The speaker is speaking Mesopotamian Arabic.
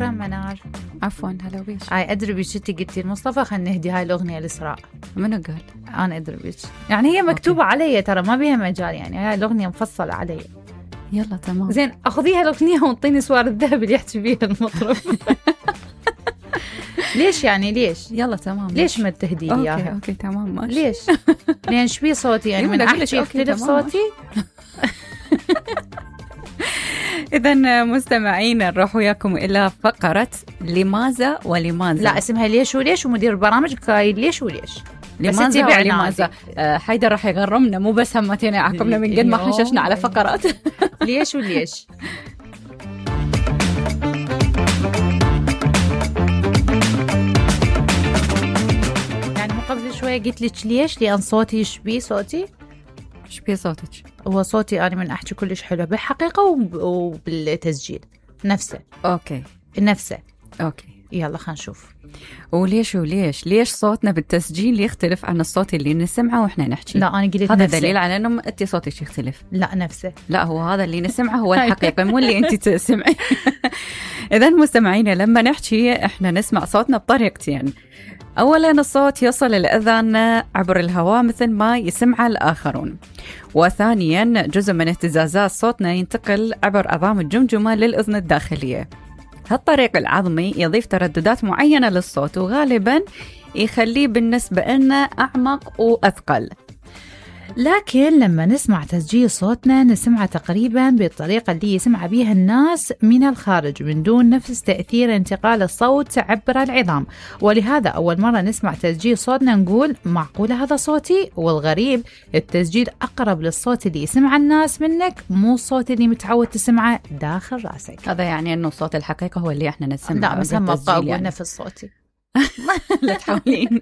شكرا منار. عفوا هلا بيش. هاي أدري بيش انتي قلتي المصطفى خلنا نهدي هاي الأغنية لإسراء. منو قال؟ أنا أدري بيش، يعني هي مكتوبة علي ترى، ما بيها مجال، يعني هاي الأغنية مفصلة علي. يلا تمام زين أخذيها الأغنية وانطيني سوار الذهب اللي يحكي بيها المطرب. ليش يعني ليش؟ يلا تمام. ليش ما تهدي لي إياها؟ أوكي تمام ماشي. ليش؟ لأن شبي صوتي يعني من أحكي يختلف صوتي؟ إذن مستمعين نروح وياكم إلى فقرة لماذا ولماذا. لا اسمها ليش وليش، ومدير البرامج قايل ليش وليش. لماذا ولماذا. حيدر راح يغرمنا، مو بس همتين يعاقبنا من قد ما حششنا على فقرات. ليش وليش. يعني مو قبل شوية قلت لك ليش؟ لأن صوتي شبي صوتي. شبي صوتك؟ هو صوتي أنا من أحكي كلش حلو بالحقيقة وبالتسجيل نفسه. أوكي نفسه. أوكي يلا خلينا نشوف. ليش صوتنا بالتسجيل يختلف عن الصوت اللي نسمعه وإحنا نحكي؟ لا أنا قلت هذا نفسه. دليل على إنه أنت صوتك يختلف. لا نفسه. لا هو هذا اللي نسمعه هو الحقيقة، مو اللي أنت تسمعي. إذن مستمعينا لما نحكي إحنا نسمع صوتنا بطريقتين. أولاً الصوت يصل الأذان عبر الهواء مثل ما يسمع الآخرون، وثانياً جزء من اهتزازات صوتنا ينتقل عبر عظام الجمجمة للأذن الداخلية. هالطريق العظمي يضيف ترددات معينة للصوت وغالباً يخليه بالنسبة لنا أعمق وأثقل. لكن لما نسمع تسجيل صوتنا نسمعه تقريبا بالطريقة اللي يسمع بيها الناس من الخارج من دون نفس تأثير انتقال الصوت عبر العظام، ولهذا أول مرة نسمع تسجيل صوتنا نقول معقولة هذا صوتي؟ والغريب التسجيل أقرب للصوت اللي يسمع الناس منك، مو الصوت اللي متعود تسمعه داخل راسك. هذا يعني أنه صوت الحقيقة هو اللي احنا نسمعه. لا بس هم أقول يعني. نفس صوتي. لا تحاولين.